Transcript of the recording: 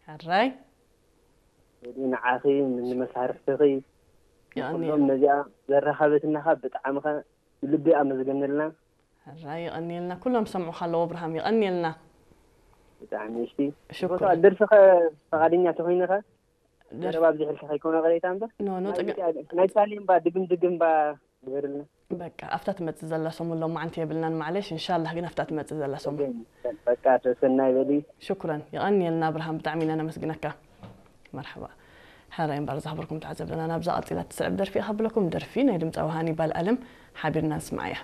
ሕራይ ንዓኺ ንመሳርሕትኺ የቐኒ ኩሎም ነዚኣ ዘራኸበትናኻ ብጣዕሚ ኸ ልቢ ኣመስገንልና። ሕራይ የቐኒልና። ኩሎም ሰምዑኻ ኣለዎ ኣብርሃም፣ የቐኒልና። ብጣዕሚ እሺ። ሽኩር። ቦታ ደርፊ ኸ ፈቓደኛ ተኾይንኻ ዘረባ ኣብዚሕልካ ከይኮነ ቅሬታ እምበር ኖ፣ ኖ፣ ናይ ጸገም- ኢትዮጵያ- ናይ ሳሌም ባ ድግም ድግም ባ ዝበርልና በቃ ኣብታ ትመጽእ ዘላ ሰሙን ሎማዓንቲ የብልናን፣ ማዕለሽ። እንሻላህ ግን ኣብታ ትመጽእ ዘላ ሰሙን። በቃ ተሰናይ በሊ። ሽኩረን፣ የቐንየልና ኣብርሃም፣ ብጣዕሚ ኢና ነመስግነካ። መርሓባ። ሕራይ እምበር ዝኽብርኩም ተዓዘብትና፣ ናብዛ ቀጺላ ትስዕብ ደርፊ እያ ከብለኩም። ደርፊ ናይ ድምጻዊ ሃኒባል ኣለም ሓቢርና ንስምዓያ።